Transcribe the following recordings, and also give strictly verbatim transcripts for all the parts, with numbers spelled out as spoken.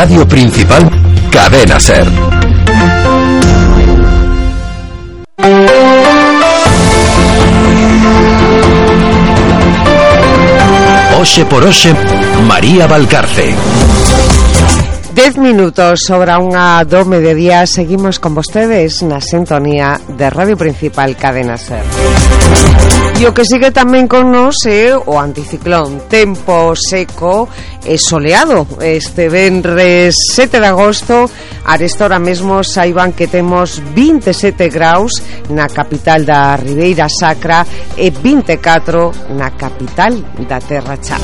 Radio Principal, Cadena Ser. Oxe por hoxe, María Valcarce. Dez minutos sobre unha do mediodía. Seguimos con vostedes na sintonía de Radio Principal, Cadena Ser. E o que sigue tamén con nos é o anticiclón. Tempo seco e soleado este venres sete de agosto. Aresta hora mesmo saiban que temos vinte e sete graus na capital da Ribeira Sacra e vinte e catro na capital da Terra Chá.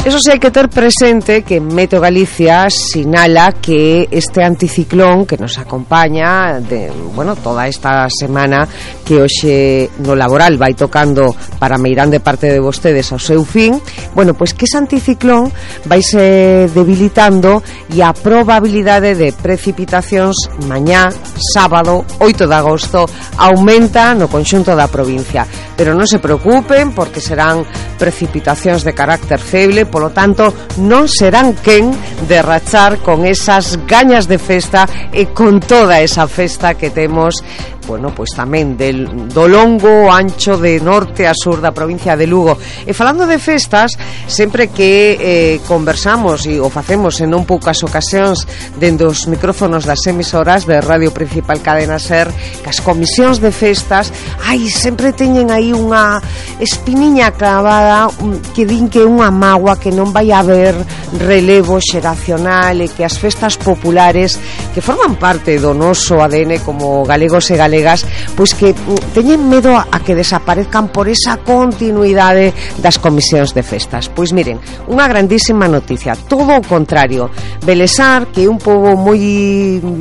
Eso sí, hai que ter presente que Meteo Galicia sinala que este anticiclón que nos acompaña de, bueno, toda esta semana que hoxe no laboral vai tocando para meirán de parte de vostedes ao seu fin, bueno, pois que ese anticiclón vai se debilitando e a probabilidade de precipitacións mañá, sábado, oito de agosto, aumenta no conxunto da provincia. Pero non se preocupen porque serán precipitacións de carácter feble, polo tanto non serán quen de rachar con esas gañas de festa e con toda esa festa que temos, bueno, pois tamén del, do longo ancho de norte a sur da provincia de Lugo. E falando de festas, sempre que eh, conversamos e o facemos en non poucas ocasións dende os micrófonos das emisoras de Radio Principal Cadena Ser, que as comisións de festas, ai, sempre teñen aí unha espiniña clavada que din que é unha mágoa, que non vai haber relevo xeracional e que as festas populares que forman parte do noso A D N como galegos e galegas, pois que teñen medo a que desaparezcan por esa continuidade das comisións de festas. Pois miren, unha grandísima noticia, todo o contrario. Belesar, que é un pobo moi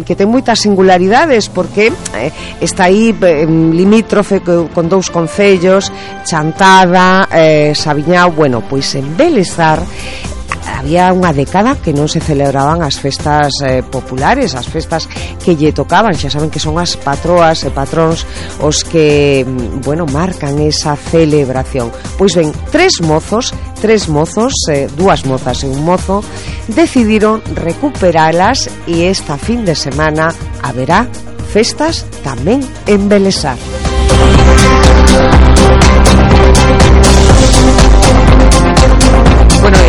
que ten moitas singularidades porque eh, está aí eh, limítrofe con dous concellos, Chantada, eh, Sabiñao. Bueno, pois en Belesar había unha década que non se celebraban as festas eh, populares, as festas que lle tocaban. Xa saben que son as patroas e patróns os que, bueno, marcan esa celebración. Pois ben, tres mozos, tres mozos, eh, dúas mozas e un mozo, decidiron recuperalas e esta fin de semana haberá festas tamén en Belesar. Bueno,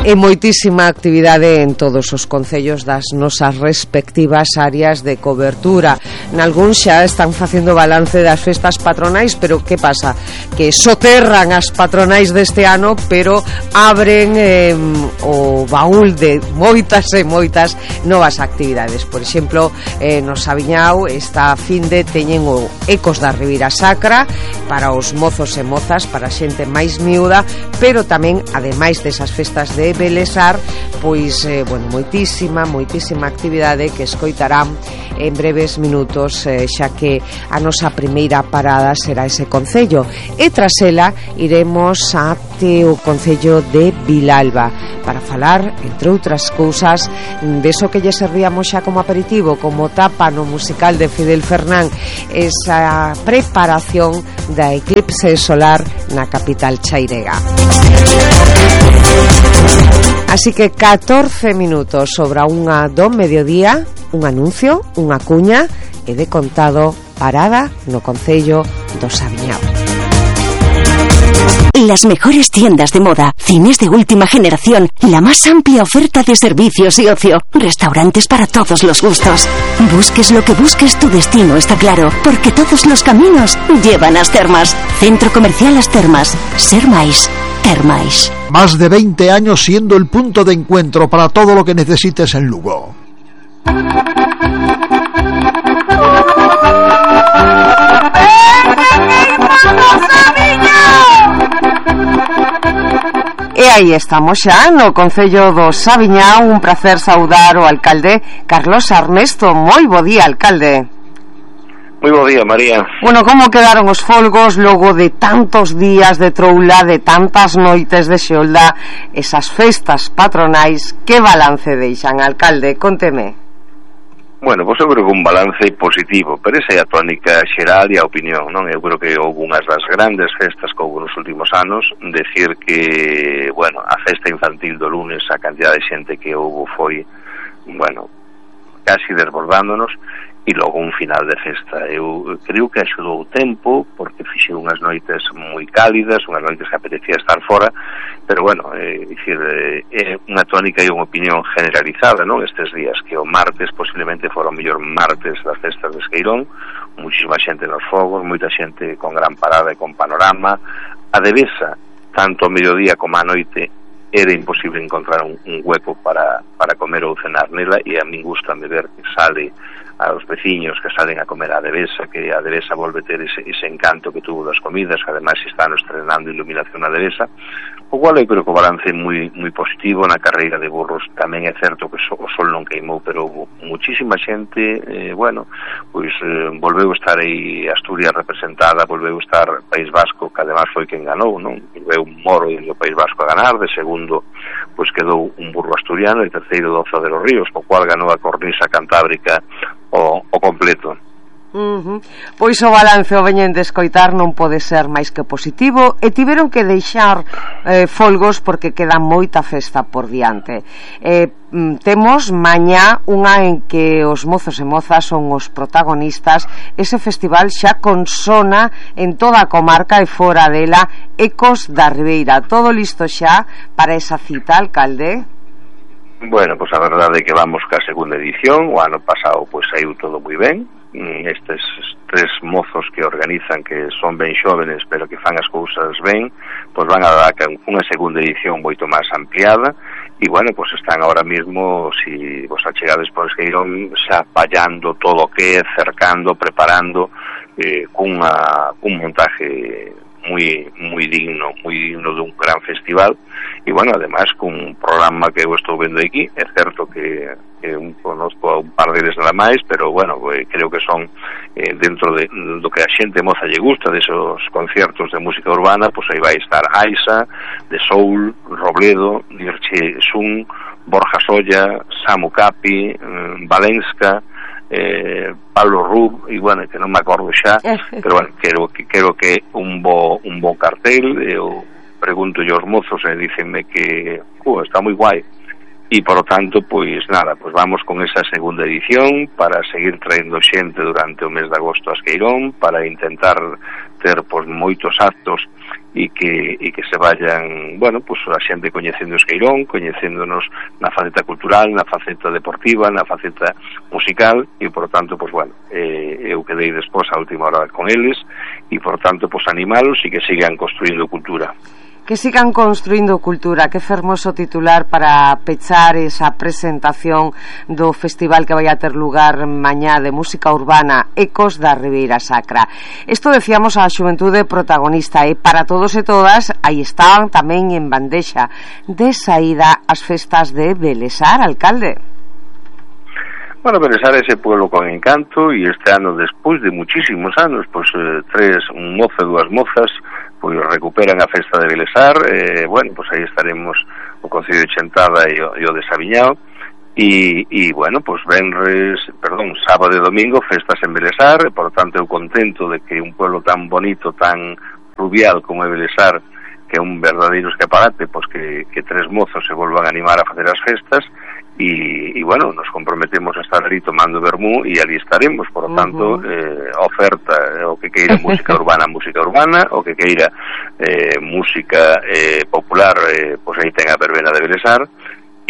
e, e moitísima actividade en todos os concellos das nosas respectivas áreas de cobertura. Nalgún xa están facendo balance das festas patronais, pero que pasa? Que soterran as patronais deste ano, pero abren eh, o baúl de moitas e moitas novas actividades. Por exemplo, eh, no Sabiñao esta fin de teñen o Ecos da Ribeira Sacra para os mozos e mozas, para a xente máis miúda, pero tamén, ademais desas festas de Belesar, pois, eh, bueno, moitísima, moitísima actividade que escoitarán en breves minutos, eh, xa que a nosa primeira parada será ese concello. E tras ela iremos até o concello de Vilalba para falar, entre outras cousas, deso que lle servíamos xa como aperitivo, como tapa no musical de Fidel Fernán, esa preparación da eclipse solar na capital chairega. Así que catorce minutos sobre a unha do mediodía, un anuncio, unha cuña e de contado parada no concello do Sabiñao. Las mejores tiendas de moda, cines de última generación, la más amplia oferta de servicios y ocio, restaurantes para todos los gustos. Busques lo que busques, tu destino está claro, porque todos los caminos llevan a As Termas. Centro Comercial As Termas. Ser máis, ter máis. Más de veinte años siendo el punto de encuentro para todo lo que necesites en Lugo. E aí estamos xa no concello do Sabiñao. Un placer saudar o alcalde Carlos Armesto. Moi bo día, alcalde. Moi bo día, María. Bueno, como quedaron os folgos logo de tantos días de troula, de tantas noites de xolda, esas festas patronais? Que balance deixan, alcalde? Conteme. Bueno, pois eu creo que un balance positivo, pero esa é a tónica xeral e a opinión, non? Eu creo que houve unhas das grandes festas que houve nos últimos anos, decir que, bueno, a festa infantil do lunes, a cantidad de xente que houve foi, bueno, casi desbordándonos, e logo un final de festa. Eu creo que axudou o tempo, porque fixe unhas noites moi cálidas, unhas noites que apetecía estar fora, pero bueno, é dicir, é unha tónica e unha opinión generalizada, non? Estes días, que o martes posiblemente fora o mellor martes das festas de Esqueirón, muchísima xente nos fogos, moita xente con gran parada e con panorama. A Devesa, tanto ao mediodía como á noite, era imposible encontrar un, un hueco para, para comer ou cenar nela, e a min gusta de ver que sale aos veciños que salen a comer a Devesa, que a Devesa volve ter ese, ese encanto que tuvo das comidas, que ademais están estrenando iluminación a Devesa, o cual eu creo que o balance é moi, moi positivo. Na carreira de burros tamén é certo que so, o sol non queimou, pero houve muchísima xente, eh, bueno, pois eh, volveu estar aí Asturias representada, volveu estar País Vasco, que ademais foi quen ganou, non? Volveu un moro do País Vasco a ganar, de segundo pois quedou un burro asturiano, e terceiro Doza de los Ríos, o cual ganou a cornisa cantábrica o, o completo. Uh-huh. Pois o balance o veñen de escoitar non pode ser máis que positivo, e tiveron que deixar eh, folgos porque queda moita festa por diante. eh, Temos mañá unha en que os mozos e mozas son os protagonistas. Ese festival xa consona en toda a comarca e fora dela, Ecos da Ribeira. Todo listo xa para esa cita, alcalde? Bueno, pois a verdade é que vamos ca segunda edición. O ano pasado pois saiu todo moi ben. Estes tres mozos que organizan, que son ben xóvenes pero que fan as cousas ben, pois van a dar unha segunda edición moito máis ampliada. E bueno, pois están ahora mismo, si vos achegades por Esqueirón, xa pallando todo o que é, cercando, preparando eh, cunha, cun montaje moi moi digno, moi digno dun gran festival. E bueno, además cun programa que eu estou vendo aquí, é certo que, que un, conozco un par deles nada máis, pero bueno, eh, creo que son eh, dentro de, do que a xente moza lle gusta, desos conciertos de música urbana, pois aí vai estar Aisa, de Soul, Robledo, Dirche Sun, Borja Solla, Samu Capi, eh, Valenska, eh, Pablo Rub, e bueno, que non me acordo xa, pero bueno, quero que quero que un bo un bo cartel. Eu pregunto aos mozos e dícenme que uh, está moi guai, e por lo tanto, pois nada, pois vamos con esa segunda edición para seguir traendo xente durante o mes de agosto a Esqueirón, para intentar ter pois moitos actos e que e que se vayan, bueno, pois a xente coñecendo Esqueirón, coñecéndonos na faceta cultural, na faceta deportiva, na faceta musical, e por tanto, pois bueno, eh, eu quedei despois a última hora con eles, e por tanto, pois animalos e que sigan construindo cultura. Que sigan construindo cultura. Que fermoso titular para pechar esa presentación do festival que vai a ter lugar mañá de música urbana, Ecos da Ribeira Sacra. Isto decíamos a xuventude protagonista, e para todos e todas aí están tamén en bandexa de saída as festas de Belesar, alcalde. Bueno, Belesar é ese pueblo con encanto, e este ano, despois de muchísimos anos, pois eh, tres, un mozo e dúas mozas, pois recuperan a festa de Belesar. eh, bueno, pois aí estaremos o Concello de Chantada e o, e o de Sabiñao, e, e bueno, pois venres, perdón, sábado e domingo festas en Belesar, e por tanto eu contento de que un pueblo tan bonito, tan fluvial como é Belesar, que é un verdadeiro escaparate, pois que, que tres mozos se volvan a animar a facer as festas. E, e bueno, nos comprometemos a estar ali tomando vermú, e ali estaremos. Por lo tanto, uh-huh. eh, oferta o que queira música urbana, música urbana, o que queira eh, música eh, popular, eh, pois aí ten a verbena de Belesar.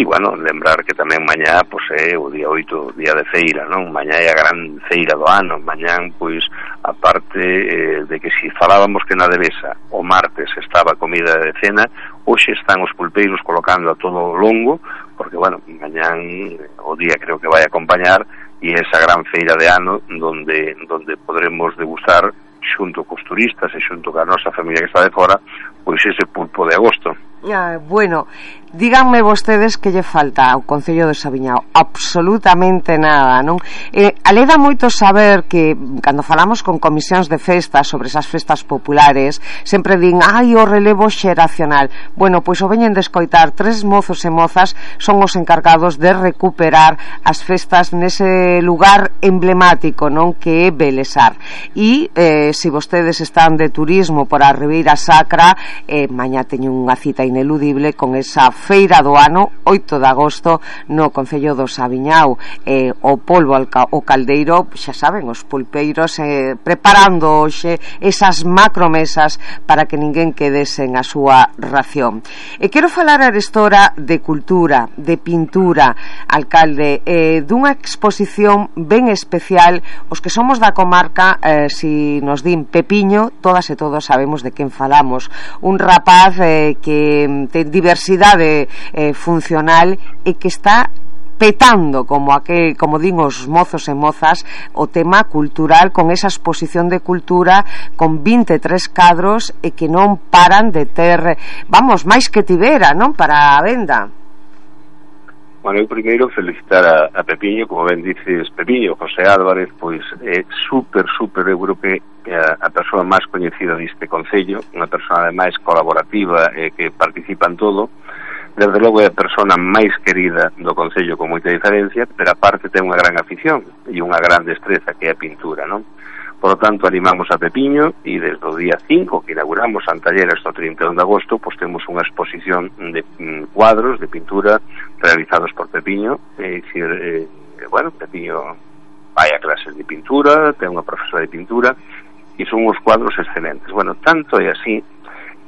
E bueno, lembrar que tamén mañá pois é o día oito, día de feira, non? Mañá é a gran feira do ano. Mañá, pois, a parte eh, de que si falábamos que na Devesa o martes estaba comida de cena, hoxe están os pulpeiros colocando a todo o longo, porque, bueno, mañán o día creo que vai acompañar, e esa gran feira de ano donde donde podremos degustar xunto cos turistas e xunto ca nosa familia que está de fora, pois ese pulpo de agosto. Ah, bueno, díganme vostedes que lle falta ao Concello de Saviñao. Absolutamente nada, non? Eh, aleda moito saber que cando falamos con comisións de festas sobre esas festas populares sempre din, ai, o relevo xeracional. Bueno, pois o veñen de escoitar, tres mozos e mozas son os encargados de recuperar as festas nese lugar emblemático, non, que é Belesar. E eh, se vostedes están de turismo por a Ribeira Sacra, eh, mañá teñen unha cita ineludible con esa feira do ano, oito de agosto, no Concello do Saviñao. Eh, o polvo al ca o caldeiro, xa saben, os pulpeiros eh, preparando hoxe esas macromesas para que ninguén quede sen a súa ración. E quero falar arestora de cultura, de pintura, alcalde, eh, dunha exposición ben especial. Os que somos da comarca, eh, si nos din Pepiño, todas e todos sabemos de quen falamos. Un rapaz eh, que ten diversidade eh, funcional e que está petando, como aquel, como din os mozos e mozas, o tema cultural con esa exposición de cultura con vinte e tres cadros e que non paran de ter, vamos, máis que tivera, non, para a venda. Bueno, eu primeiro felicitar a, a Pepiño, como ben dices, Pepiño, José Álvarez, pois é super, super, eu creo que a, a persoa máis coñecida deste Concello, unha persoa máis colaborativa e que participa en todo. Desde logo é a persona máis querida do Concello con moita diferencia, pero aparte ten unha gran afición e unha gran destreza que é a pintura, non? Por lo tanto, animamos a Pepiño e desde o día cinco que inauguramos Antallera hasta o trinta e un de agosto, pois temos unha exposición de mm, cuadros de pintura realizados por Pepiño. É dicir, eh, bueno, Pepiño vai a clases de pintura, ten unha profesora de pintura e son uns cuadros excelentes. Bueno, tanto é así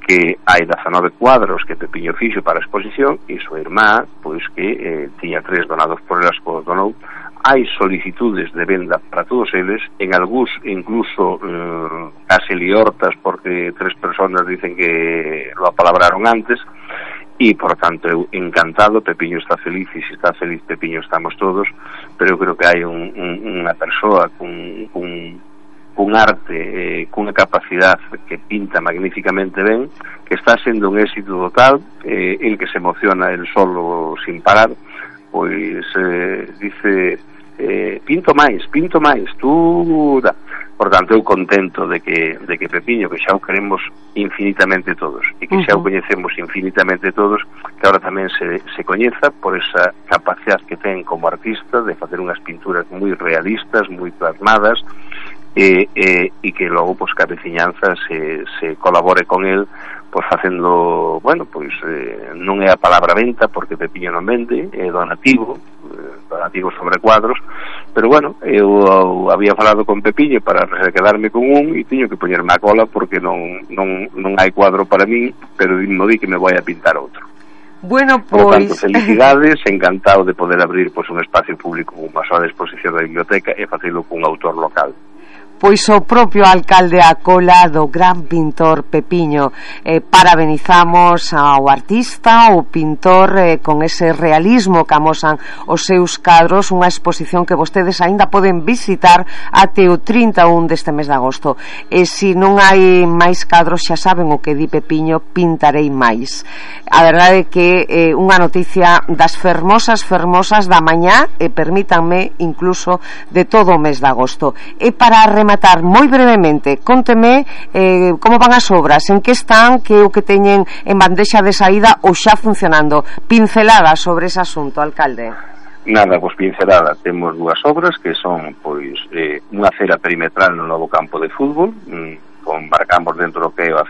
que hai dezanove cuadros que Pepiño fixo para a exposición e súa irmá, pois que eh, tiña tres donados por elas, que os donou. Hai solicitudes de venda para todos eles, en algúns incluso eh, case liortas porque tres personas dicen que lo apalabraron antes e, por tanto, eu encantado. Pepiño está feliz e se está feliz Pepiño estamos todos, pero eu creo que hai un, un, unha persoa con, con, con arte, eh, cunha capacidade que pinta magníficamente ben, que está sendo un éxito total, eh, el que se emociona el solo sin parar, pois eh, dice... Eh, pinto máis, pinto máis, tú da. Por tanto, eu contento de que, de que Pepiño, que xa o queremos infinitamente todos e que xa o coñecemos infinitamente todos, que ahora tamén se, se coñeza por esa capacidade que ten como artista de facer unhas pinturas moi realistas, moi plasmadas, e, e, e que logo, pois, que a veciñanza se, se colabore con el, pois facendo, bueno, pois eh, non é a palabra venta porque Pepiño non vende, é donativo, eh, donativo sobre cuadros, pero bueno, eu había falado con Pepiño para quedarme con un e tiño que poñerme a cola porque non, non, non hai cuadro para min, pero mo di que me vai a pintar outro. Bueno, pois... Por tanto, felicidades, encantado de poder abrir pois, un espacio público con unha sola exposición da biblioteca e facelo cun autor local. Pois o propio alcalde a cola do gran pintor Pepiño. Eh, parabenizamos ao artista, ao pintor, eh, con ese realismo que amosan os seus cadros, unha exposición que vostedes aínda poden visitar até o trinta e un deste mes de agosto. E se non hai máis cadros, xa saben o que di Pepiño, pintarei máis. A verdade é que eh, unha noticia das fermosas, fermosas da mañá, e permítanme, incluso de todo o mes de agosto. E para rematar matar moi brevemente, cónteme eh, como van as obras, en que están, que o que teñen en bandexa de saída ou xa funcionando. Pincelada sobre ese asunto, alcalde. Nada, pois pincelada. Temos dúas obras que son pois eh, unha acera perimetral no novo campo de fútbol, mm, con marcamos dentro do que é a